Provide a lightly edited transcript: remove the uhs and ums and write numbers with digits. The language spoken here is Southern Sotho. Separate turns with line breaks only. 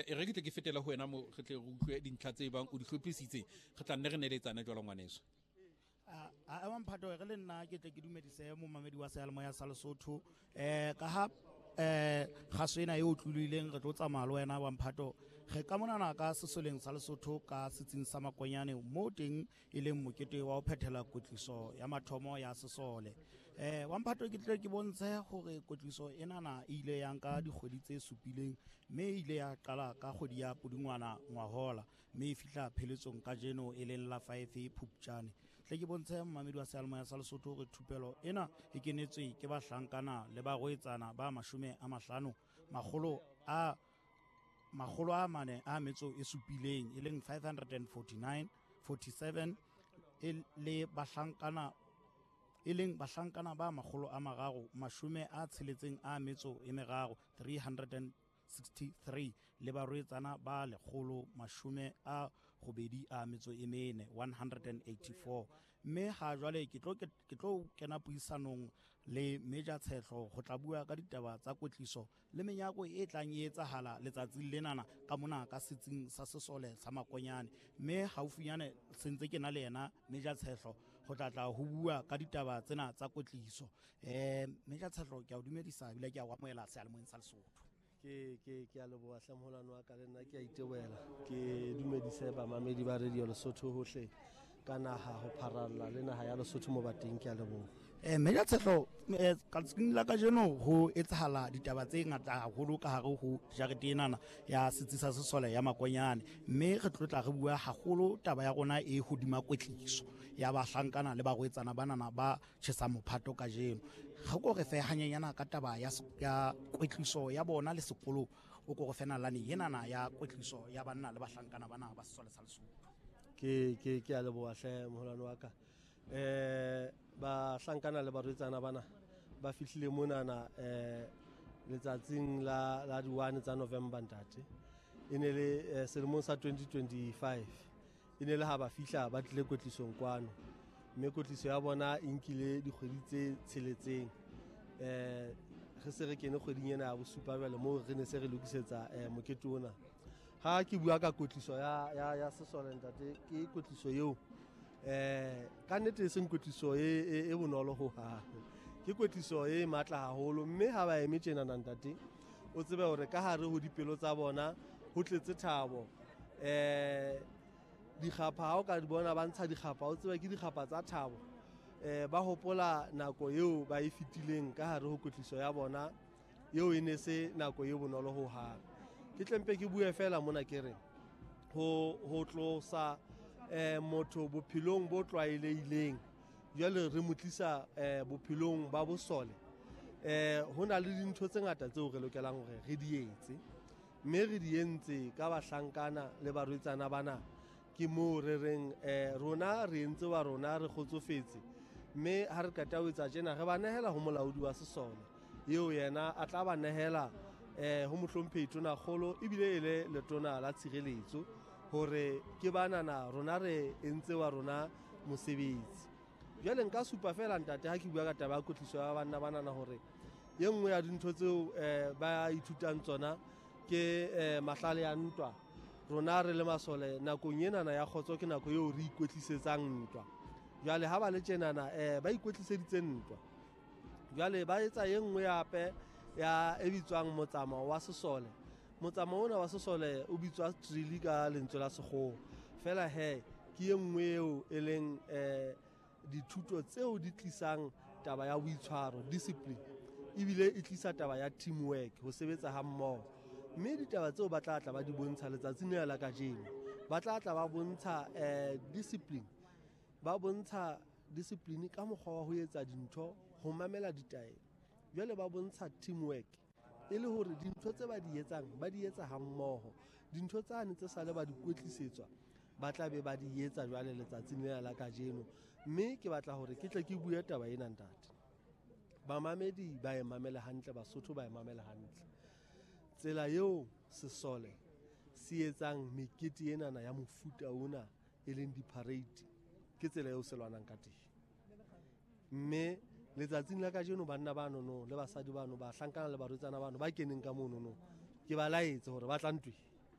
E re ke tle ke fetele ho wena mo re tle re utlwe dintlha tse bang o di hlophisitse, re tla nne re neletsane jwalo ngwaneso.
A ema mphato re le nna ke tle ke dumedise momamedi wa seyalemoya sa Lesotho. Ka ha kgaso ena e o tloloileng, re tlo tsamaya le wena wa mphato. Re ka monana ka sesoleng sa Lesotho ka setsing sa Makonyane, mo teng e leng mokete wa ho phethela kwetliso ya mathomo ya sesole. Wa mphato, ke tle ke bontshe hore kwetliso enana e ile ya nka dikgwedi tse supileng, mme e ile ya qala ka kgwedi ya Pudungwana ngwahola, mme e fihla pheletsong kajeno e leng la 5 Phupjane. Tle ke bontshe momamedi wa seyalemoya sa Lesotho hore thupelo ena e kenetswe ke bahlankana le barwetsana ba 50, 447, e leng 549 47, e le bahlankana, e leng bahlankana ba 363, 363, le barwetsana ba 184, 184. Mme ha jwale ke tlo kena puisanong le Major Tshehlo ho tla bua ka ditaba tsa kwetliso le menyako e tlang e etsahala letsatsing lenana ka mona ka setsing sa sesole sa Makonyane. Mme haufinyane sentse ke na le yena Major Tshehlo ho tla tla ho bua ka ditaba tsena tsa kwetliso. Major Tshehlo, ke a o dumedisa ebile ke a o amohela seyalemoyeng sa Lesotho.
Ke a leboha hle, moholwane wa ka. Le nna ke a itebohela, ke dumedise bamamedi ba Radio Lesotho hohle ka naha ho pharalla le naha ya Lesotho mo ba teng. Ke a leboha.
Major Tshehlo, letsatsing la kajeno ho etsahala ditaba tse ngata haholo ka hare ho jarete enana ya setsi sa sesole ya Makonyane, mme re tlo tla re bua haholo taba ya rona e hodima kwetliso ya bahlankana le barwetsana banana ba tjhesang mophato kajeno. Re ko re fe hanyenyana ka taba ya kwetliso ya bona le sekolo, o ko re fe nalane enana ya kwetliso ya banna le bahlankana bana ba sesole sa Lesotho.
Ke a leboha hle, moholwane wa ka. Bahlankana le barwetsana bana ba fihlile monana letsatsing la di-1 tsa November, ntate. E ne le selemong sa 2025. E ne le ha ba fihla ba tlile kwetlisong kwano, mme kwetliso ya bona e nkile dikgwedi tse tsheletseng. Re se re kene kgweding ena ya bosupa jwale, moo re ne se re lokisetsa mokete ona. Ha ke bua ka kwetliso ya sesole, ntate, ke kwetliso eo ka nnete e seng kwetliso e bonolo hohang, ke kwetliso e matla haholo. Mme ha ba eme tjenana, ntate, o tsebe hore ka hare ho dipelo tsa bona ho tletse thabo. Dikgapha ha o ka di bona ba ntsha dikgapha, o tsebe ke dikgapha tsa thabo. Ba hopola nako eo ba e fetileng ka hare ho kwetliso ya bona eo, e ne se nako e bonolo hohang. Ke tlempe ke bue fela mona, ke re ho tlosa motho bophelong bo tlwaelehileng, jwale re mo tlisa bophelong ba bosole. Ho na le dintho tse ngata tseo re lokelang hore re di etse, mme re di entse ka bahlankana le barwetsana bana. Ke moo re reng rona re entse wa rona, re kgotsofetse. Mme ha re qeta ho etsa tjena, re ba nehela ho molaodi wa sesole eo, yena a tla ba nehela ho mohlomphehi tonakgolo, ebile e le letona la tshireletso, hore ke banana rona re entse wa rona mosebetsi. Jwale nka supa fela, ntate, ha ke bua ka taba ya kwetliso ya banna banana, hore e nngwe ya dintho tseo ba ithutang tsona ke mahlale ya ntwa. Rona re le masole, nakong enana ya kgotso ke nako eo re ikwetlisetsang ntwa. Jwale ha ba le tjenana, ba ikwetliseditse ntwa. Jwale ba etsa e nngwe hape ya e bitswang motsamao wa sesole. Motsamao ona wa sesole o bitswa drill ka lentswe la sekgowa. Fela he ke e nngwe eo e leng dithuto tseo di tlisang taba ya boitshwaro, discipline, ebile e tlisa taba ya teamwork, ho sebetsa ha mmoho. Mme ditaba tseo ba tla tla ba di bontsha letsatsing lena la kajeno, ba tla tla ba bontsha discipline, ba bontsha discipline ka mokgwa wa ho etsa dintho, ho mamela ditaelo. Jwale ba bontsha teamwork, e le hore dintho tse ba di etsang ba di etsa hammoho. Dintho tsane tse sale ba di kwetlisetswa, ba tla be ba di etsa jwale letsatsing lena la kajeno. Mme ke batla hore ke tle ke bue taba ena, ntate, bamamedi ba e mamele hantle, Basotho ba e mamele hantle. Tsela eo sesole se etsang mekete enana ya mofuta ona, e leng di-parade, ke tsela eo se lwanang ka teng. Mme letsatsing la kajeno banna banono le basadi bano, bahlankana le barwetsana bano ba keneng ka monono, ke ba laetse hore ba tla ntweng.